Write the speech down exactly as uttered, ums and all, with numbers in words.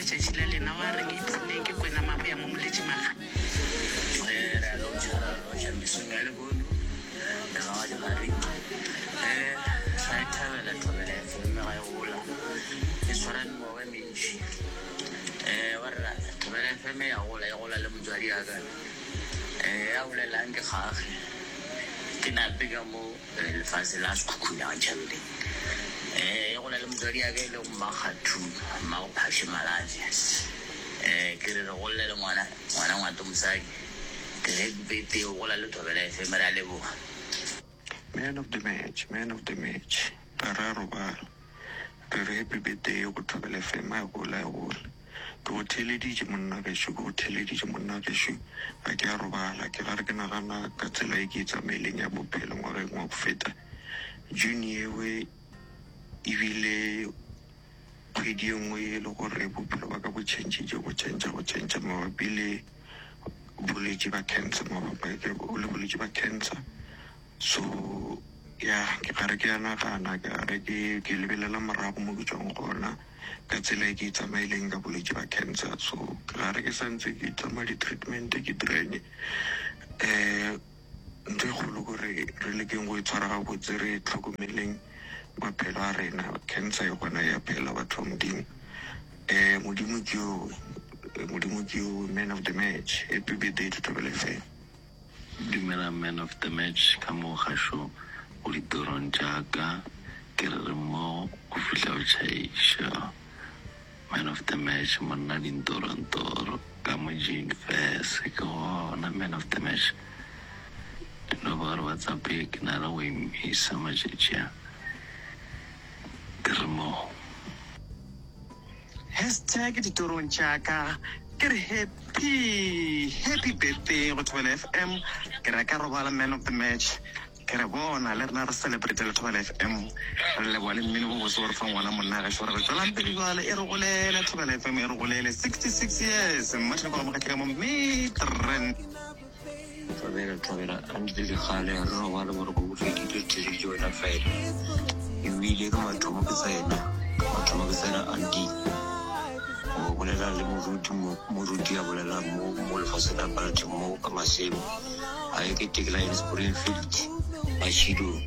letšatši la lena wa reng ipshineng ke kwena maboya mo moletšimaga. Re a lotšha, re a lotšha mesong ya lehono le ga dikgareng. Um ra e thabela Thobela F M ga e gola e swara mengwaga e mentši. Um wa rena Thobela F M ya gola, e gola le motswadi ya ka. Um ya bolelang ke kgage ke nape ka mo lefase la Sekhukhune ga Ntšhabeleng. Um e gola le motswadi ya ka e lego Mmakgathu Mmago Malatše. Um ke re re golle le ngwana ngwana ngwato mosadi. Ke re happy birthday o gola le Thobela F M, re a leboga. Man of the match, man of the match. Ga ra robala. Re re happy birthday go Thobela F M a gola e gola. Ke go theeleditše monna gešo, ke go theeleditše monna gešo. Ga ke a robala, ke gare ke nagana ka tsela e ke e tsamaileng ya bophelo ngwageng wa go feta. June yewe ebile kgwedi e nngwe e le gore bophelo ba ka bo changile, go change go change mabapi le bolwetši ba cancer, mabapi le bolwetši ba cancer. So ya ke gare ke a nagana, ke gare ke ke lebelela morago mo ke tswang gona ka tsela e ke e tsamaileng ka bolwetši ba cancer. So ke gare ke santse ke tsamaya di-treatment ke direng. Um ntho e kgolo kore re lekeng go e tshwara gabotse, re tlhokomeleng maphelo a rena. Cancer e gona ya phela batho ba Modimo. Um Modimo ke yo, Modimo ke yo, man of the match. Happy birthday to Thobela F M. Dumela man of the match ka mo gašo go ditorong tša ka, ke re re mmogo go fihla o tšhaiša. Man of the match monna dintorontoro ka mo Jane Furse ke gona man of the match. No ba gore WhatsApp ye ke na le go emisa matšatši a, ke re mmogo. Hashtag ditorong tša ka, ke re happy happy birthday go Thobela F M. Ke re ka robala man of the match, ke re bona le rena re celebrate le Thobela F M, re leboa le mmino bo bose gore fa ngwana monna gešo. Re re tswelang pele jale, e re golele Thobela F M, e re golele sixty-six years. Mmatlhoko ga mogatlhe ka mo Midrand. Thobela, Thobela, a ntse le kgale re robale boroko bo fedile, re theleditše wena fela. Ebile ke mathomo ke tsena, mathomo ke tsena anti o bolela le moruti mo, moruti a bolela mo mo lefaseng la batho mo ka masemo a ye ke Tekline Springfield Mashidong.